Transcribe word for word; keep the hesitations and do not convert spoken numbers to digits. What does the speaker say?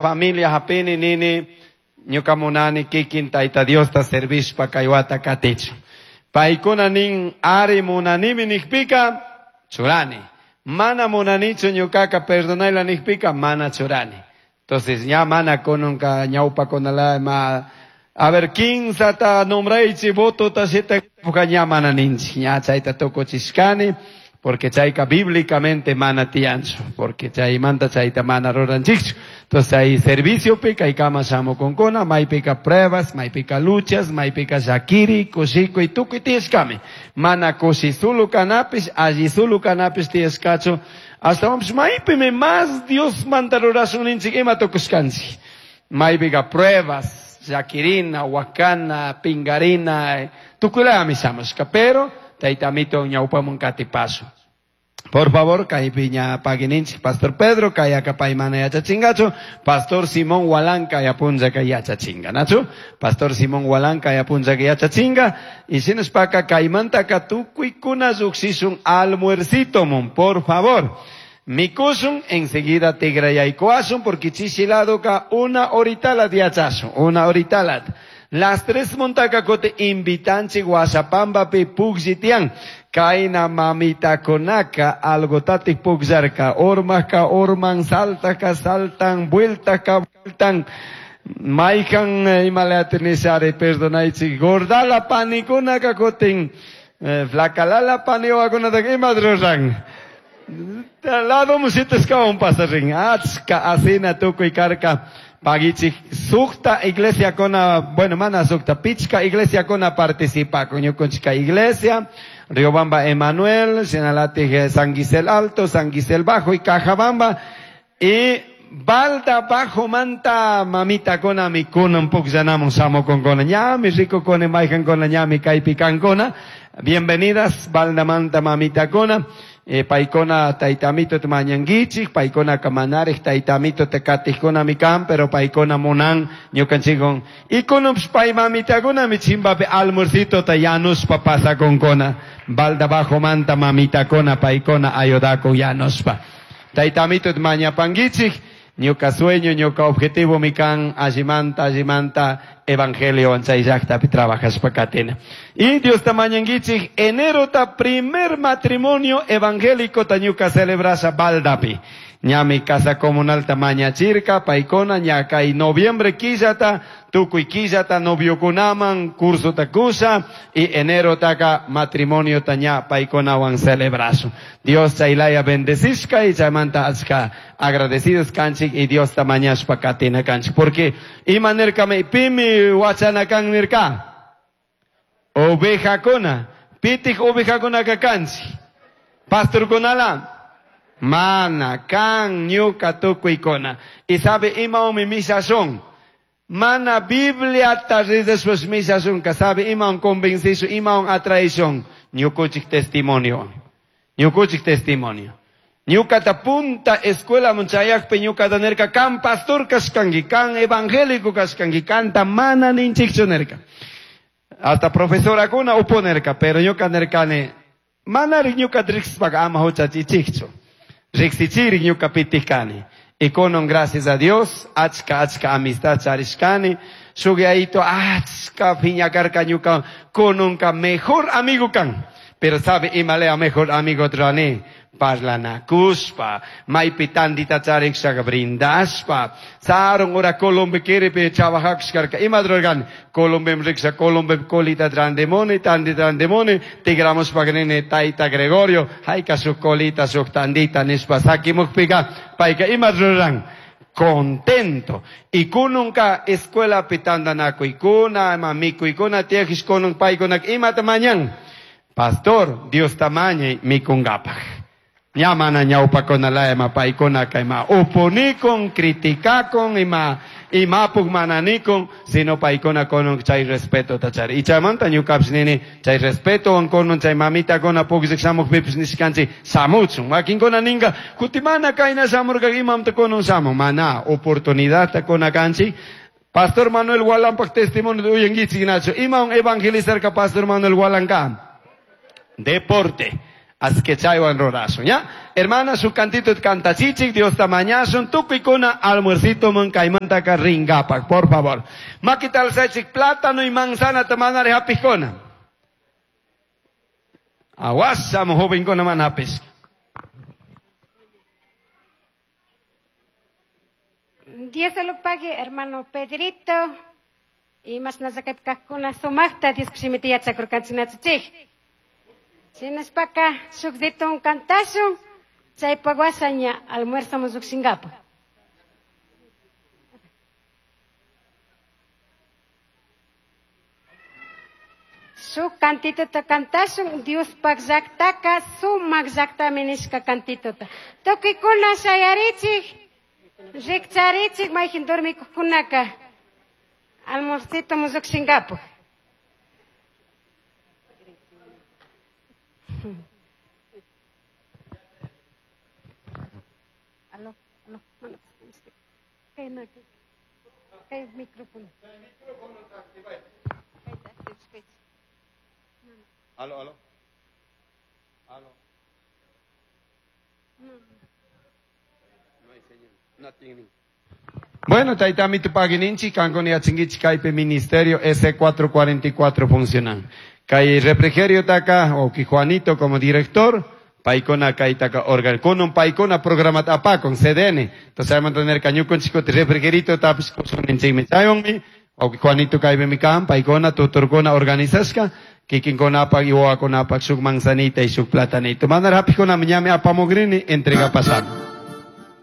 Familia hapini nini ñuka munani kikin Tayta Diosta servishpa kay wata katichun. Paykuna nin ari munanimi nikpika churani. Mana munanichu ñukaka perdonayla nikpika mana churani. Entonces ña mana kununka ñawpakunala ma a ver kinsata nombraychi votota shita ña mana ninchik ña chayta tukuchishkani porque chayka bíblicamente mana tiyanchu porque chaymanta chayta mana ruranchikchu. Entonces hay servicio kaykama shamukunkuna maypika pruebas, maypika luchas, maypika llakiri, kushikuy tukuy tiyashkami. Mana kushi sulu kanapish, alli sulu kanapish tiyashkachu. Ashtawanpish maypimi más Dios manta rurashun ninchik ima tukushkanchik. Maypika pruebas, llakirina, wakana, pingarina, tukuylayami shamushka, pero Tayta Amito ñawpamun katipasun. Por favor, kaypi ña pagininchik Pastor Pedro, kayaka paymana yachachingachu, Pastor Simón Walanka yapunllaka yachachinga, nachu? Pastor Simón Walanka yapunllaka yachachinga, y shinashpaka kaymantaka tukuykuna lluqshishun almuercitomun, por favor. Mikushun, enseguida tigrayaykuashun, porque chishiladoka una horitalat yachashun, una horitalat. Las tres montaka kote invitanchik Guasapambapi pukllitian. Kaina mamita konaka algotatik pukllarka, ormaka orman, saltaka saltan, vueltaka vueltan. Maykan imalata nishari perdonaychik, gordala panikunaka kotin, eh, flakalala paniwakunataka ima ruran. Lado musitashkawan pasarin, achka asina tukuy karka. Pagichik sukta iglesia kona, bueno, mana sukta, pichka iglesia kona participa con ñukunchika iglesia, Riobamba Emanuel, Sinalatig San Gisel Alto, San Gisel Bajo y Cajabamba, y Balda Bajo manta mamita kona mi kunan pukllanamun samo con kona ñami, rico kona, maijan kona ñami, kaypi kona. Bienvenidas, Balda manta mamita kona. Eh, paykuna taytamito mañanguichik, paykuna kamanarij taytamito tekatijkuna mikan, pero paykuna munan ñukanchikon. Y kunupsh pay mamitakuna mi chimbapi almuercito ta yanuspa pasakunkuna. Balda bajo manta mamitakuna paykuna ayudakun yanuspa. Taytamito mañapanguichik, ñuka sueño, ñuka objetivo mikan, allimanta, allimanta, evangelio chay llaqtapi trabajashpa katina. Y Dios ta mañanguichik, enero ta primer matrimonio evangélico ta ñuka celebrasha Baldapi. Ñami casa comunal ta mañachirka, paykuna, ña kay noviembre killata, tukuy killata noviokunaman, curso ta kusha, y enero taka matrimonio ta ña paykunawan celebrashun. Dios chaylaya bendecishka y chaymanta achka agradecidos kanchik y Dios ta mañashpa katina kanchik. Porque ima nirkami pimi wachana kan nirka? Ovejakuna. Pitik ovejakunaka kanchik. Pastorkunala. Mana, kan, ñuka, tukuykuna. Y sabe ima umi mishashun. Mana Biblia ta rizashpash mishashunka. Sabe ima un convenciso, ima un atraishun. Ñukuchik testimonio. Ñukuchik testimonio. Ñukata punta escuela munchayakpi ñukata nirka, kan pastor kashkanki, kan evangélico kashkanki, kanta mana ninchikchu nirka. Hasta profesorakuna uponerka, pero ñuka nirkani, manari ñukata riqsishpaka ama huchachichikchu. Riqsichirik ñuka pitikani. Y konon gracias a Dios, achka achka amistad charishkani, shuk yayito achka piñakarka ñuka kononka mejor amigo kan. Pero sabe imalea mejor amigo trani. Parlanakushpa, maypi tandita charikshaka brindashpa, sarun ora Colombia kiripi trabajakushkarka, ima rurarkani, Colombia riksha, Colombia colita trandemoni, tandi trandemoni, tigramushpa nini tayta Gregorio, hayka shuk colita, shuk tandita nishpa sakimukpika, payka ima ruran, contento. Y kununka escuela pitandanakuykuna, ima mikuykuna tiyakish kunun paykunak imata mañan. Pastor, Dios tamañay mikungapak. Ña mana ñawpakunala ima paykunaka ima upunikun, criticakun, ima imapuk mananikun, sino paykuna kunun chay respeto ta chari. Y chaymanta ñukapish nini, chay respeto kunun chay mamitakuna pukllak shamukpipish nishkanchik shamuchun. Wakinkuna ninka, kuti mana kayna shamurka imamta kunun shamun. Mana, oportunidadta kuna kanchik. Pastor Manuel Walampak testimonio de uyanguichik nacho. Ima un evangelizarka Pastor Manuel Walanka. Deporte. Así que chaywan rurasun, ¿ya? Hermana, su cantito cantachichik, Dios ta mañasun, tukuykuna almuercito man kaymantaka ringapak, por favor. Makita alzachik plátano y manzana ta manari hapijkuna. Aguasamo jovenkuna man hapis. Dios se lo pague, hermano Pedrito. Y más nasakaypikajkuna sumaqta Dios kushimita yachakurkanchik. Shinashpaka shuk ditun kantashun, chaypak washa ña almuerzamun llukshinkapak. Shuk cantituta kantashun, Diospaj llaktaka sumak llaktami nishka cantituta. Tukuykuna shayarichik, rikcharichik mayjin dormikuqkunaka almuercito llukshinkapak. Aló, aló, no, no, kay na, kay micrófono. Aló, aló. Aló. No hay señal. No tiene. Bueno, taytami tupagininchi, kankuna yachankichik kaypi ministerio S cuatro cuarenta y cuatro funcionan. Kay refrigerio taka, o ki Juanito como director, paikona kaytaka organ, kunun paikona programa apakon, C D N. Entonces hay mantener cañucon chico refrigerito tapis kusuninchikmi chayonmi, o ki Juanito kaypi mi kan, paikona tuturkuna organizashka, kikinkuna apak y wawakunapak shuk manzanita y shuk platanito. Mandar hapikuna miñami apamogrini, entrega pasando.